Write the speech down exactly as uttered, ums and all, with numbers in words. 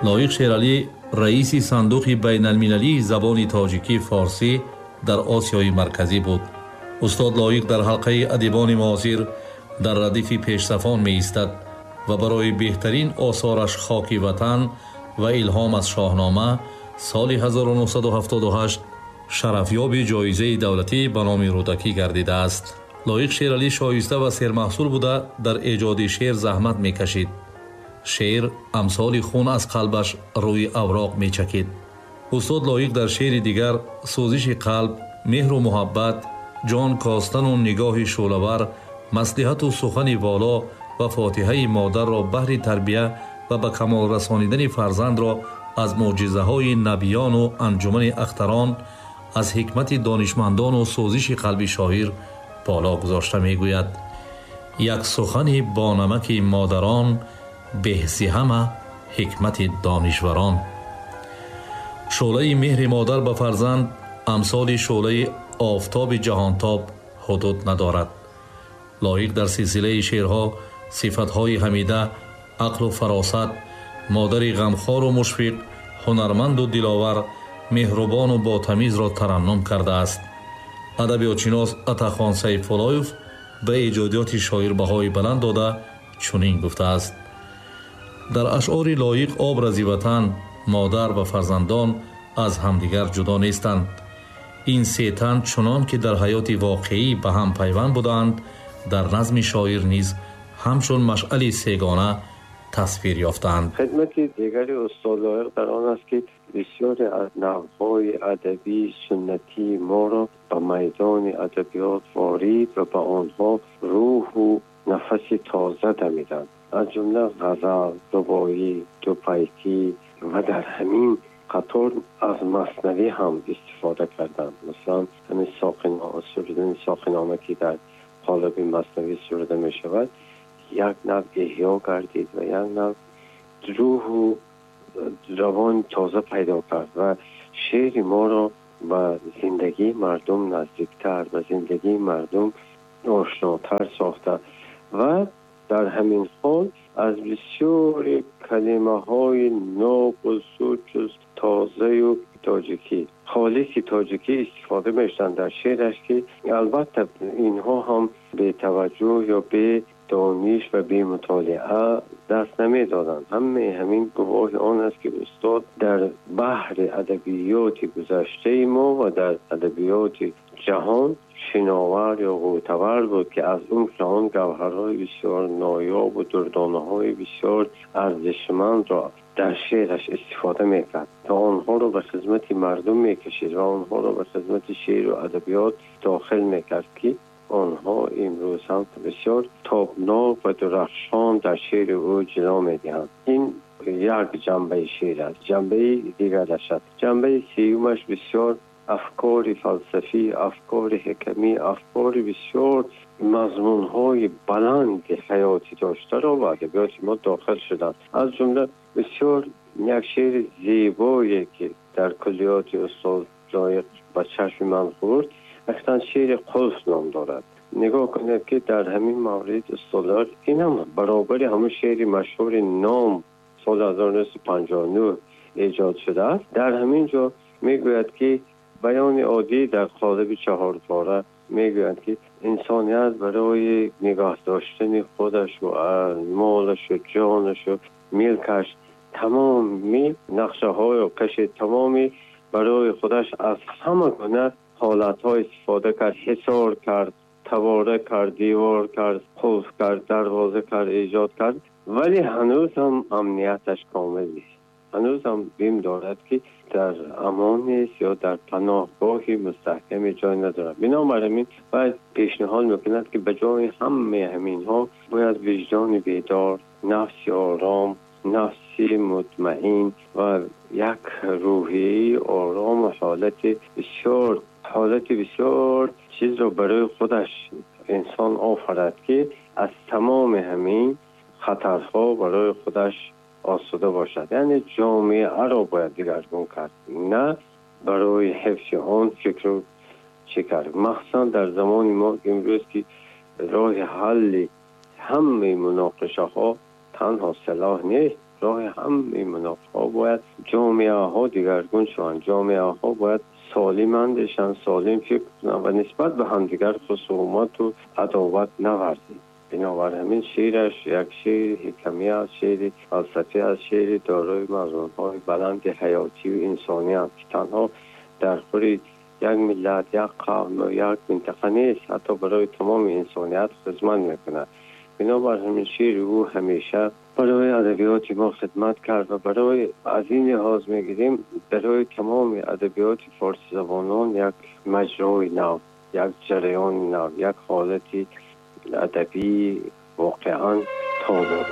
Лоиқ Шералӣ раиси сандуқи байналмилалии забони тоҷикӣ форсӣ дар Осиёи Марказӣ буд. Устод Лоиқ дар ҳалқаи адибони муосир дар радифи пешсафон меистад ва барои беҳтарин осораш «Хоки ватан» ва «Илҳом аз Шоҳнома» соли ҳазору нӯҳсаду ҳафтоду ҳашт шарафёби ҷоизаи давлатӣ ба номи Рӯдакӣ гардидааст. Лоиқ Шералӣ шоиста ва сермаҳсул буда, дар эҷоди шеър заҳмат мекашид. Шеър амсоли хун аз қалбаш рӯи авроқ мечакид. Устод Лоиқ дар шеъри дигар сӯзиши қалб, меҳру муҳаббат, ҷон костану нигоҳи шӯълавар, маслиҳату сухани воло ва фотиҳаи модарро баҳри тарбия ва ба камол расонидани фарзандро аз мӯъҷизаҳои набиёну анҷумани ахтарон, аз ҳикмати донишмандону сӯзиши қалби шоир боло гузошта мегӯяд: як сухани бонамаки модарон беҳзи ҳама ҳикмати донишварон. Шӯълаи меҳри модар ба фарзанд амсоли шӯълаи офтоби ҷаҳонтоб ҳудуд надорад. Лоиқ дар силсилаи шеърҳо сифатҳои ҳамида, ақлу фаросат, модари ғамхору мушфиқ, ҳунарманду диловар, меҳрубону ботамизро тараннум кардааст. Адабиётшинос Атахон Сайфуллоев ба эҷодиёти шоир баҳои баланд дода чунин гуфтааст: дар ашъори Лоиқ образи ватан, модар ва фарзандон аз ҳамдигар ҷудо нестанд. Ин се тан чунон ки дар ҳаёти воқеӣ ба ҳам пайванд будаанд, дар назми шоир низ ҳамчун машъали сегона тасвир ёфтаанд. Хидмати дигари устод Лоиқ дар он аст, ки бисёре аз навъҳои адабии суннатии моро ба майдони адабиёт ворид ва ба онҳо рӯҳу нафаси тоза дамиданд. Аз ҷумла ғазал, рубоӣ, дупайтӣ ва дар ҳамин қатор аз маснавӣ ҳам истифода карданд. Масалан, ҳамин сурудани Соқинома, ки дар қолаби маснавӣ суруда мешавад, як нав эҳё гардид ва як нав рӯҳу равон тоза пайдо кард ва шеъри моро ба зиндагии мардум наздиктар, ба зиндагии мардум ошнотар сохта ва дар ҳамин ҳол аз бисёри калимаҳои нобу сучу тозаю тоҷикӣ, холиси тоҷикӣ истифода мешуданд дар шеъраш, ки албатта инҳо ҳам бетаваҷҷӯҳ ё бедониш ва бемутолиа даст намедоданд. Ҳамаи ҳамин гувоҳи он аст, ки устод дар баҳри адабиёти гузаштаи мо ва дар адабиёти ҷаҳон шиновар ё ғӯтавар буд, ки аз он ҷаҳон гавҳарҳои бисёр ноёб ва дурдонаҳои бисёр арзишмандро дар шеъраш истифода мекард ва онҳоро ба хизмати мардум мекашид ва онҳоро ба хизмати шеъру адабиёт дохил мекард, ки онҳо имрӯз ҳам бисёр тобнок ва дурахшон дар шеъри ӯ ҷило медиҳанд. Ин як ҷанбаи шеър аст. Ҷанбаи дигараш аст. Ҷанбаи сеюмаш бисёр афкори фалсафӣ, афкори ҳикамӣ, афкори бисёр мазмунҳои баланди ҳаётӣ доштаро ба адабиёти мо дохил шуданд. Аз ҷумла бисёр як шеъри зебое, ки дар куллиёти устод Лоиқ ба чашми ман хӯрд, اصلا شعر قلف نام دارد. نگاه کنید که در همین مورد استاد لایق این هم برابر همون شعر مشهور نام سال هزار و نهصد و پنجاه و نه ایجاد شده است. در همین جا میگوید که بیان عادی در قالب چهار پاره میگوید که انسانیت برای نگاه داشتن خودش و مالش و جانش و ملکش تمامی نقشه های و کشید، تمامی برای خودش از همه گونه حالت‌ها استفاده کرد، حصار کرد، تواره کرد، دیوار کرد، قفل کرد، دروازه کرد، ایجاد کرد، ولی هنوز هم امنیتش کامل نیست. هنوز هم بیم دارد که در امان نیست یا در پناهگاهی مستحکم جای ندارد. بنابراین باید پیشنهاد میکند که به جای همه همینها باید وجدان بیدار، نفس آرام، نفسی مطمئن و یک روحیه آرام و حالت بسیار حالت بسیار چیز رو برای خودش انسان آفرد که از تمام همین خطرها برای خودش آسوده باشد. یعنی جامعه را باید دیگرگون کرد، نه برای حفظ آن فکر رو چه کرد. مخصوصا در زمان ما امروز که راه حل همه مناقشه ها تنها سلاح نیست، роҳи ҳамаи муноқишаҳо бояд ҷомеаҳо дигаргун шаванд. Ҷомеаҳо бояд солим андешанд, солим фикр кунанд ва нисбат ба ҳамдигар хусумат ва адоват наварзанд. Бинобар ҳамин шеъраш як шеъри ҳикамӣ аст, шеъри фалсафӣ аст, шеъри дорои мазмунҳои баланди ҳаётӣ ва инсонӣ аст, ки танҳо дар хури як миллат, як қавм ва як минтақа нест, ҳатто барои тамоми инсоният хизмат мекунад. Бинобар ҳамин шеъри ӯ ҳамеша барои адабиёти мо хидмат кард ва барои аз ин лиҳоз мегирем барои тамоми адабиёти форсизабонон як маҷрои нав, як ҷараёни нав, як ҳолати адабии воқеан тоза.